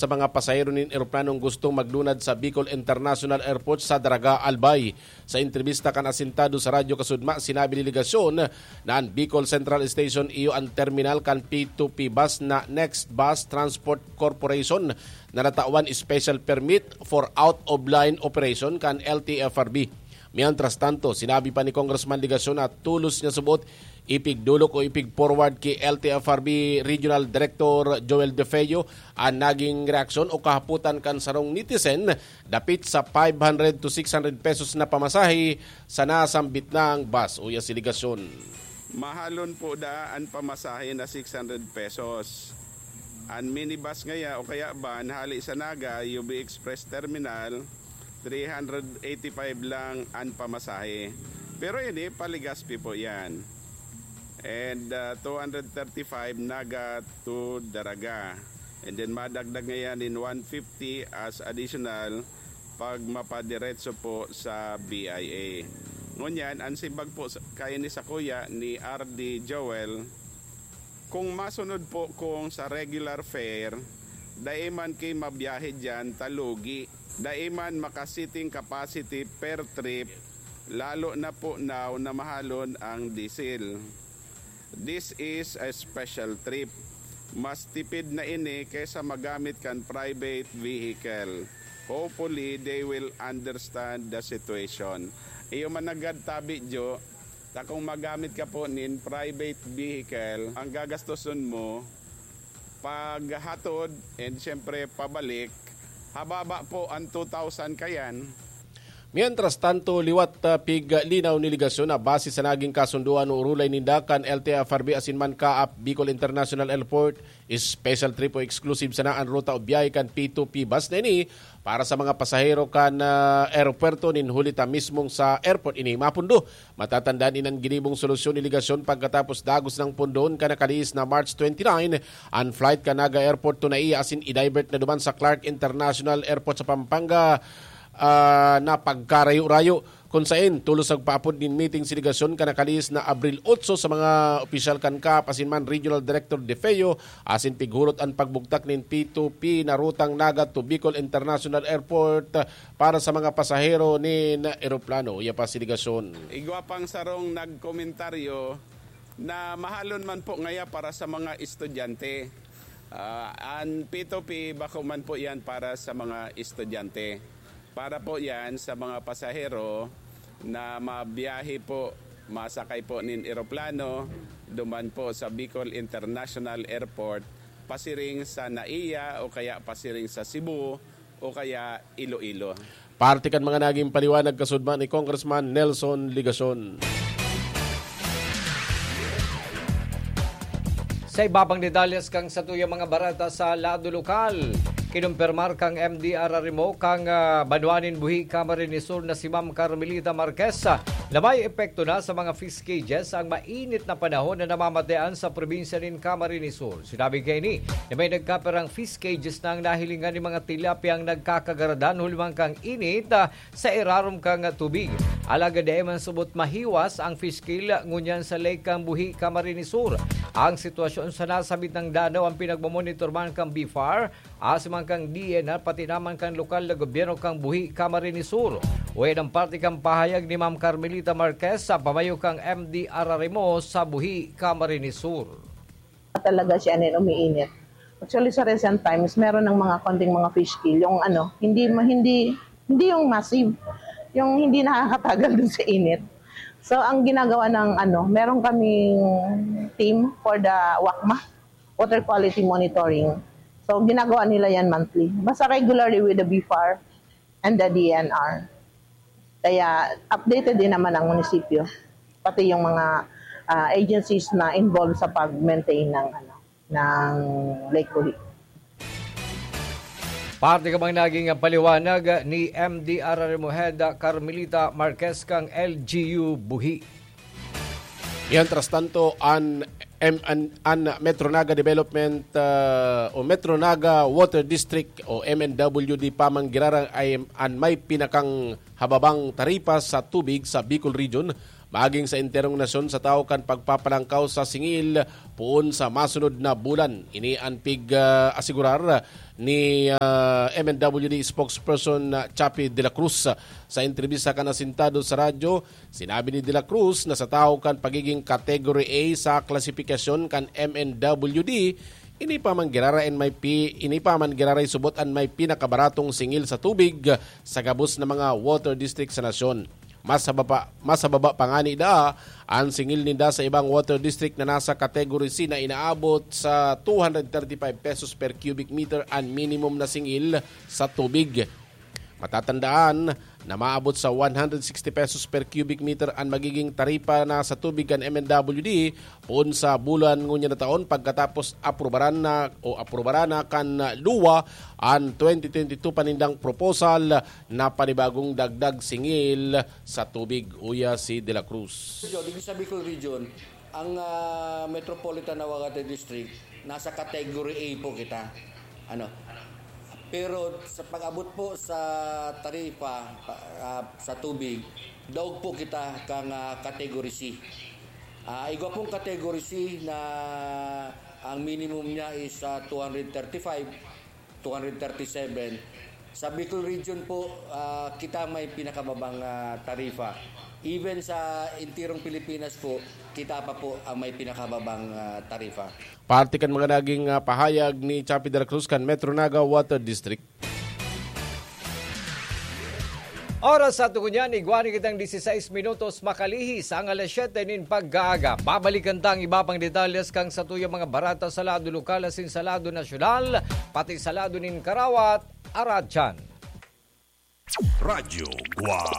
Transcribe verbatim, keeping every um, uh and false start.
sa mga pasahero nin eroplanong gustong maglunad sa Bicol International Airport sa Daraga, Albay. Sa entrebista kan asintado sa Radyo Kasudma, sinabi ni delegasyon na an Bicol Central Station iyo an terminal kan P two P bus na Next Bus Transport Corporation na natawan special permit for out-of-line operation kan L T F R B. Mientras tanto, sinabi pa ni Congressman Legacion na tolos niya subot ipigdolok o ipig-forward ki L T F R B Regional Director Joel De Feo an naging reaksyon o kahapotan kan sarong netizen dapit sa five hundred to six hundred pesos na pamasahe sa nasambit nang bus. Uya si Legacion. Mahalon po da an pamasahe na six hundred pesos. An minibus ngaya o kaya van hali sa Naga, U B Express Terminal, three hundred eighty-five lang an pamasahe. Pero ini, pa-Legazpi po yan. And uh, two hundred thirty-five Naga to Daraga. And then madagdag ngayan in one fifty as additional pag mapadiretso po sa B I A. Ngunyan, ang simbag po sa- kaini sa kuya ni R D Joel, kung masunod po kung sa regular fare, dai man ki mabiyahe diyan ta lugi. Dai man maka-seating capacity per trip, lalo na po now na mahalon ang diesel. This is a special trip. Mas tipid na ini kaysa magamit kan private vehicle. Hopefully, they will understand the situation. Iyo man nanggad tabi, Jo, ta kung magamit ka po nin private vehicle, ang gagastoson mo, paghatod, and siyempre pabalik, hababa po ang two thousand kayan. Mientras tanto, liwat, ah, piglinaw ni Legacion na base sa naging kasunduan o urulay ninda kan L T F R B asin man kaap Bicol International Airport, special trip o exclusive sana an ruta o biyahe kan P two P bus na ini para sa mga pasahero kan, ah, aeropuerto nin huli ta mismong sa airport ini mapundo. Matatandaan inan ginibong solusyon ni Legacion pagkatapos dagos nang pundon kan nakalihis na March twenty-nine an flight kan Naga Airport to Naiya asin i-divert na duman sa Clark International Airport sa Pampanga, ah, na pagkarayo-rayo, kun saen tolos nagpaapod nin meeting si Legacion kan nakalihis na Abril otso sa mga opisyal kan kaap asin man Regional Director De Feo asin pighulot an pagbugtak nin P two P na rutang Naga to Bicol International Airport para sa mga pasahero nin eroplano. Iya pa si Legacion. Igwa pang sarong nagkomentaryo na mahalon man po ngaya para sa mga estudyante. Ah, an P two P bako man po yan para sa mga estudyante. Para po yan sa mga pasahero na mabiyahe po, masakay po nin eroplano, duman po sa Bicol International Airport, pasiring sa Naiya o kaya pasiring sa Cebu o kaya Iloilo. Parte kan mga naging paliwanag kasudma ni Congressman Nelson Legacion. Sa iba pang detalles kan satuyang mga bareta sa lado lokal, kinumpirmar kan M D R R M O kan, ah, banwa nin Buhi, Camarines Sur na si Ma'am Carmelita Marquez, ah, na may epekto na sa mga fish cages ang mainit na panahon na namamatean sa probinsya nin Camarines Sur. Sinabi kaini na may nagkapirang fish cages na ang nahilingan nin mga tilapia ang nagkakagaradan huli man kan init, ah, sa irarom kan tubig. Alagad dai man subot mahiwas ang fish kill ngunyan sa Lake kan Buhi, Camarines Sur. Ang sitwasyon sa nasabit na danaw ang pinagmamonitor man kan BFAR, asin man kan D E N R, pati naman kan lokal na gobyerno kan Buhi, Camarines Sur. Uya an parte kan pahayag ni Ma'am Carmelita Marquez sa pamayo kan M D R R M O sa Buhi, Camarines Sur. Talaga siya nin umiinit. Actually, sa recent times, meron ng mga konting mga fish kill. Yung ano, hindi ma-, hindi, hindi yung massive, yung hindi nakakatagal dun sa init. So, ang ginagawa ng ano, meron kaming team for the WACMA, Water Quality Monitoring. So, ginagawa nila yan monthly. Basta regularly with the BFAR and the D E N R. Kaya updated din naman ang munisipyo, pati yung mga, ah, agencies na involved sa pag-maintain ng, ano, ng Lake Buhi. Parte ka bang naging paliwanag ni M D R R M O Head Carmelita Marquez kan L G U Buhi? Mientras tanto, an, em, an, an Metro Naga Development, ah, o Metro Naga Water District o M N W D pa man giraray an may pinakang hababang taripa sa tubig sa Bicol Region, maging sa enterong nasyon sa tawo kan pagpapalangkaw sa singil poon sa masunod na bulan. Ini an pig-asigurar ni ah, M N W D spokesperson na Chappie de la Cruz. Sa entrebista kan Asintado sa radyo, sinabi ni de la Cruz na sa tawo kan pagiging Category A sa klasifikasyon kan M N W D, ini pa man giraray an may pi, ini pa man giraray subot an may pinakabaratong singil sa tubig sa gabos na mga water district sa nasyon. Mas sa baba, mas sa baba pa ngani daa an singil ninda sa ibang water district na nasa Category C na inaabot sa two hundred thirty-five pesos per cubic meter an minimum na singil sa tubig. Matatandaan na maabot sa one hundred sixty pesos per cubic meter an magiging taripa na sa tubig kan M N W D poon sa bulan ngunyan na taon pagkatapos aprobaran na o aprobaran na kan luwa an twenty twenty-two pa nindang proposal na panibagong dagdag singil sa tubig, uya si De La Cruz. Region, dito sa Bicol Region, ang ah, Metropolitan Nahuaguete District, nasa category A po kita. Ano? Pero sa pag-abot po sa taripa pa- ah, sa tubig, daog po kita kang ah, category C. Ah, igwa pong category C na ang minimum niya is ah, two hundred thirty-five, two hundred thirty-seven. Sa Bicol Region po, ah, kita may pinakababang ah, tarifa. Even sa intirong Pilipinas po, kita pa po ang may pinakababang ah, tarifa. Parte kan mga naging ah, pahayag ni Chappie de la Cruz kan Metro Naga Water District. Oras sa tugon yan, igwa ni kitang dieciséis minutos makalihis ang alas siyete nin pagkaaga. Babalikan ta ang iba pang detalyes kan satuyang mga bareta sa lado lokal asin sa lado nasyonal, pati sa lado nin karawat, aratyan. Radyo Guwang.